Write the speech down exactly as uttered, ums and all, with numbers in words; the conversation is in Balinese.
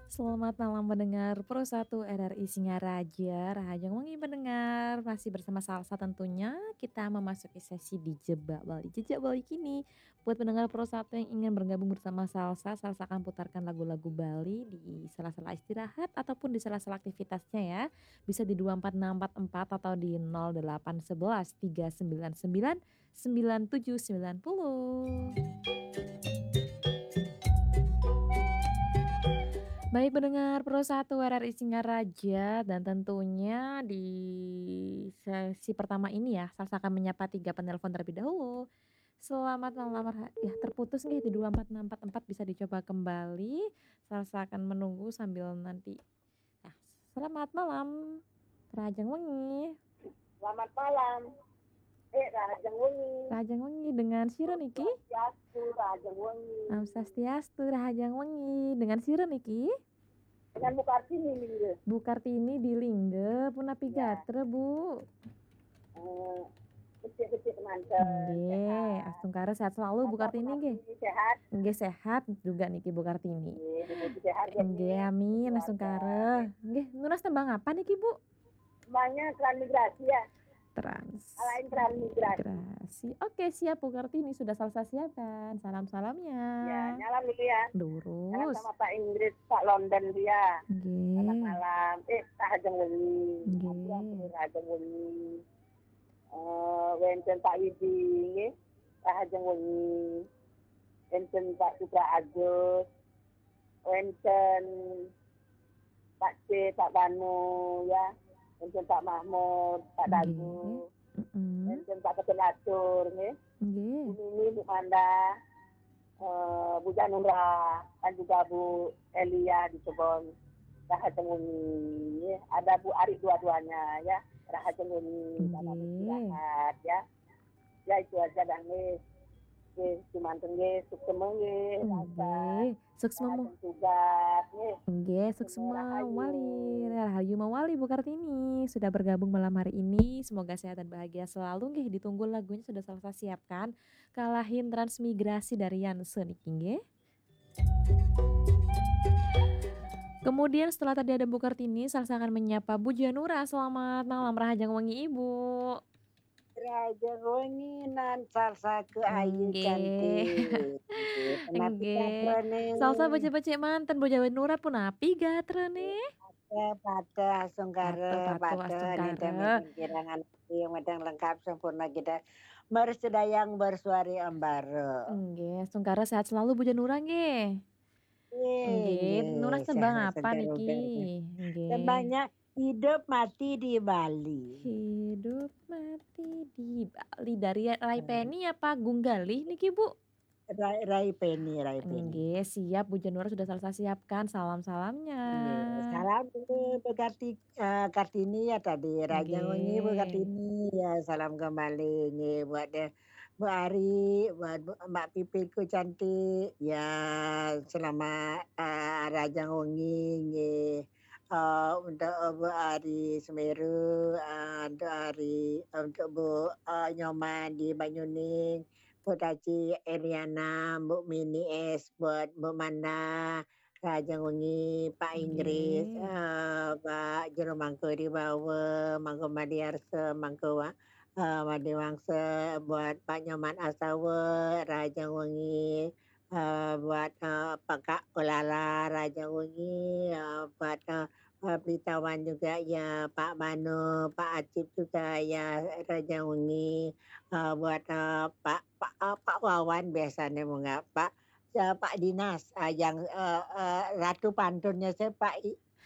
Selamat malam pendengar Pro satu R R I Singaraja, rahajeng wengi pendengar, masih bersama Salsa tentunya, kita memasuki sesi Dijebak Bali, Jejak Bali kini. Buat pendengar Pro satu yang ingin bergabung bersama Salsa, Salsa akan putarkan lagu-lagu Bali di sela-sela istirahat ataupun di sela-sela aktivitasnya ya. Bisa di dua empat enam empat empat atau di nol delapan sebelas tiga sembilan sembilan sembilan tujuh sembilan puluh. Baik pendengar Pro satu R R I Singaraja, dan tentunya di sesi pertama ini ya, Salsa akan menyapa tiga penelpon terlebih dahulu. Selamat malam, Ra-, ya terputus nih di dua empat enam empat empat, bisa dicoba kembali. Salsa akan menunggu sambil nanti. Nah, selamat malam. Rahajeng wengi. Selamat malam. Eh, rahajeng wengi. Rahajeng wengi, dengan sira niki? Swastiastu, rahajeng wengi. Om Swastiastu, rahajeng wengi. Dengan sira niki? Dengan Bu Kartini, Lingga. Bu Kartini di Lingga, punapi Ya. gatra, Bu? Eh, kecil-kecil manten, Nggih, sehat. Astungkara sehat selalu, Bu Bapak Kartini, nggih. Kartini sehat? Nggih, sehat juga niki, Bu Kartini. Nggih, dumugi sehat, ya, Nggih, nggih. Amin, Keluarga. Astungkara. Nggih, nunas tembang apa niki, Bu? Tembangnya Transmigrasi, ya. Trans. Alain Transmigrasi. Migrasi. Oke, siap, Bu Kartini, sudah Salsa siapkan. Salam-salamnya. Ya, nyalam dulu, ya. Salam Durus. sama Pak Inggris, Pak London dia. Nggih. Selamat malam. Eh, rahajeng wengi. Nggih. Ampun, ampun, rahajeng wengi. Eh, wenten Pak Widi, nggih. Rahajeng wengi. Wenten Pak Putra Agus. Wenten Pak C, Pak Banu, ya. Wenten Pak Mahmud, Pak Nggih. Dagu. Mm-mm. Wenten Pak Ketul Atur, nggih. Nggih. Bu Mimi, Bu Manda, eh, Bu Janura, dan juga Bu Elia di Cirebon. Rahajeng wengi, nggih. Ada Bu Ari dua-duanya, ya. Rahajeng wengi, selamat Nggih. istirahat, ya. Ya, itu aja dah, nggih. Nggih, cuman nggih, suksema nggih, Nggih, suksema. Tugas, nggih. Nggih, suksema Rahayu. Mawali, rahayu mawali Bu Kartini sudah bergabung malam hari ini. Semoga sehat dan bahagia selalu nggih. Ditunggu lagunya sudah Salsa siapkan. Kalahin Transmigrasi dari Yanse niki nggih. Kemudian setelah tadi ada Bu Kartini, Salsa akan menyapa Bu Janura. Selamat malam, rahajeng wengi Ibu. Rahajeng wengi nan Salsa ke ayu Nggih. cantik. Nggih, punapi Nggih. gatrane? Salsa becik-becik manten, Bu Janura, punapi gatrane? Pateh, pateh, astungkara, Pateh, pateh, pateh, astungkara. nenten menten kirang ati, medang lengkap sempurna kita. Mersedayang bersuari ambara. Nggih, astungkara sehat selalu, Bu Janura, nggih. Nggih, Nggih, nggih, nunas tembang sehat apa selalu, niki? nggih. Nggih. Tembangnya Hidup Mati di Bali. Hidup Mati di Bali. Dari Rai Hmm. Penny apa Gung Galih niki, Bu? Rai, Rai Penny, Rai Penny. Nggih, siap, Bu Janura sudah Salsa siapkan salam-salamnya. Nggih, salam dulu Bu Karti-, eh, Kartini ya tadi. Rahajeng wengi Bu Nggih. Kartini, ya salam kembali. Nggih, buat deh, Bu Ari, buat Bu, Mbak Pipitku cantik. Ya, selamat, eh, rahajeng wengi, nggih. Eh, untuk, eh, Bu Ari Semeru, eh, untuk Ari, untuk Bu, eh, Nyoman di Banyuning, Bu Taci Eriana, Bu Mini S, buat Bu Manda, rahajeng wengi, Pak Inggris, Nggih. eh, Pak Jero Mangku di Bawa, Mangku Madiarsa, Mangku Wa-, eh, Madiwangsa, buat Pak Nyoman Asawa, rahajeng wengi, eh, buat, eh, Pak Kak Ulala, rahajeng wengi, eh, buat, eh, eh, Pelitawan juga ya, Pak Manu, Pak Acip juga ya, rahajeng wengi, eh, buat, eh, Pak, Pak, eh, Pak Wawan biasanya mengapa, eh, Pak Dinas, eh, yang, eh, eh, Ratu Pantunnya saya Pak I-,